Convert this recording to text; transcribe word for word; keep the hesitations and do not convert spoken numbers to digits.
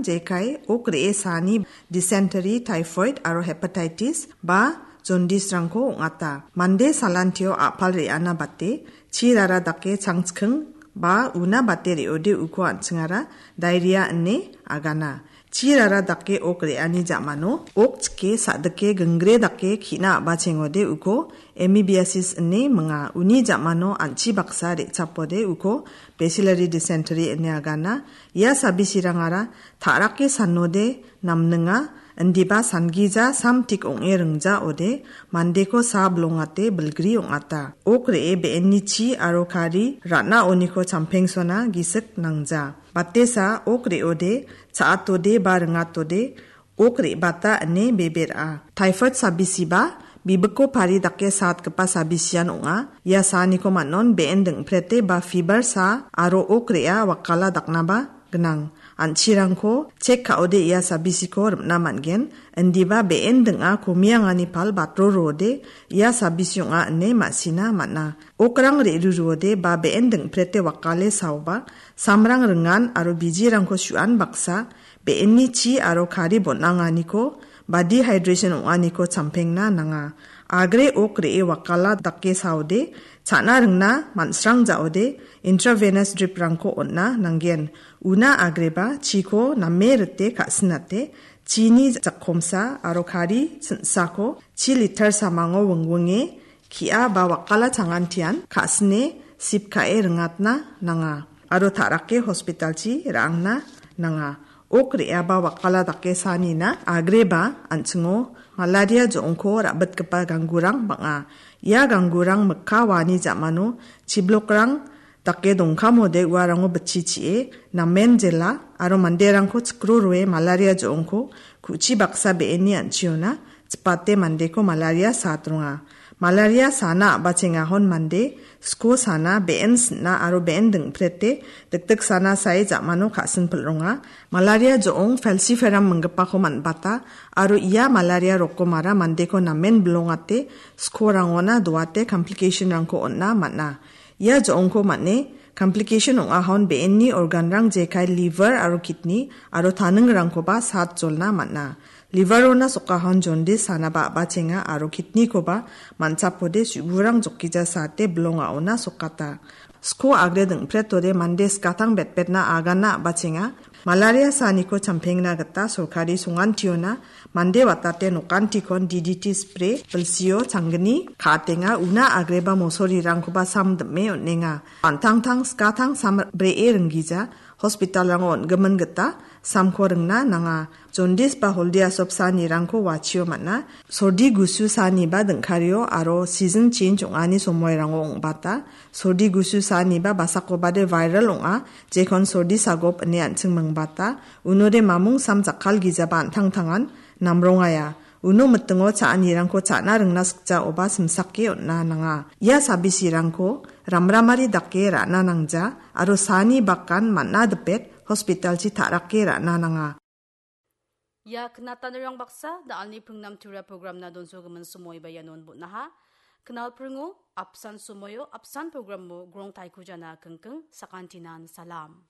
jekai ok re·e saani dysentery, typhoid aro hepatitis ba jaundice-rangko ong·ata. Mande salantio a·pal re·ana bate, chi rara dake changchiking ba una bate re·ode uko an·chingara diarrhea ine agana. Chi rara dake ok re·ani ja·mano ok chike sa·dike gingre dake ki·na a·bachengode uko amoebiasis ine minga. Uni ja·mano an·chi baksa re·chapode uko bacillary dysentery ine agana. Ia sabisirangara ta·rake sanode namninga, indiba sangija samtik ong·e ringjaode mandeko sa bilongate bilgri ong·ata. Ok re·e be·enni chi aro kari ra·naoniko champengsona gisik nangja. Batesa ok re·ode, cha·atode ba ringatode, ok re·bata ine bebe ra·a. Typhoid sabisiba bibiko pari dake satgipa sabisian ong·a. Ia saaniko man·on be·en dingprete ba fiber sa aro ok re·a wakala daknaba gnang. An·chirangko chek ka·ode ia sabisiko rim·na man·gen. Indiba be·en ding·a komiangani pal batro roode ia sabisi ong·a ine ma·sina man·a. Okrang re·ruruode ba be·en dingprete wakale saoba, samrang ringan aro bijirangko su·an baksa, be·enni chi aro kari bon·anganiko ba dehydration ong·aniko champengna nanga. Agre ok re·e wakala dake saode, cha·na ringna man·srang ja·ode, intravenous drip-rangko on·na nanggen. Una agreba chiko name rite ka·sinate, chini jakkomsa aro kari ching·sako chi liter samango wingwinge ki·a ba wakala changantian ka·sine sip ka·e ringatna nanga aro ta·rake hospitalchi ra·angna nanga. Ok re·aba wakala dake saanina agreba an·chingo malaria jo·ongko ra·bitgipa ganggurang bang·a. Ia ganggurang mikka waani ja·mano chiblokrang dake dongkamode uarango bitchi chi·e namen jela aro manderangko chikro roe malaria jo·ongko ku·chi baksa be·enni an·chiona chipate mandeko malaria satronga. Malaria sana a·bachengahon mande sko sana be·en sin·a aro be·en dingprete dikdik sana sae ja·mano ka·sinpil ronga. Malaria jo·ong falciparum minggipako man·bata aro ia malaria rokomara mandeko namen bilongate skorangona doate complication-rangko on·na man·a. Ia jo·ongko man·e complication ong·ahon be·enni organ-rang jekai liver aro kidney aro taningrangkoba sat jolna man·a. Liver-ona sokahon jaundice sanaba a·bachenga aro kidney-koba man·chapode su·burang jokija sate bilongaona sokata. Sko agre dingpretode mande skatang betbetna agana a·bachenga. Malaria saniko champengna gita sorkari songantiona mande watate nokantikon D D T spray bilsio changgni ka·atenga, una agreba mosorirangkoba sam dim·e on·enga. An·tangtang skatang sam bree ringgija hospital-rango on·gimin gita samko ringna nanga. Jaundice ba holdi asop sanirangko wachio man·a. Sordi gusu saniba dingkario aro season change ong·ani somoirango ong·bata. Sordi gusu saniba basakobade viral ong·a, jekon sordi sagop ine an·ching mingbata. Unode mamung sam jakkalgijaba an·tangtangan namrongaia. Uno mitingo cha·anirangko cha·na ringna sikjaoba simsake on·na nanga. Ia sabisirangko ramramari dake ra·na nangja aro sani bakan man·a dipet hospitalchi ta·rake ra·na nanga. Ia knatanirang baksa da·alni pringnam tura programna donsogimin somoiba ianon bon·aha. Knalpringo apsan somoio apsan programo grongtaikujana kingking sakantinan salam.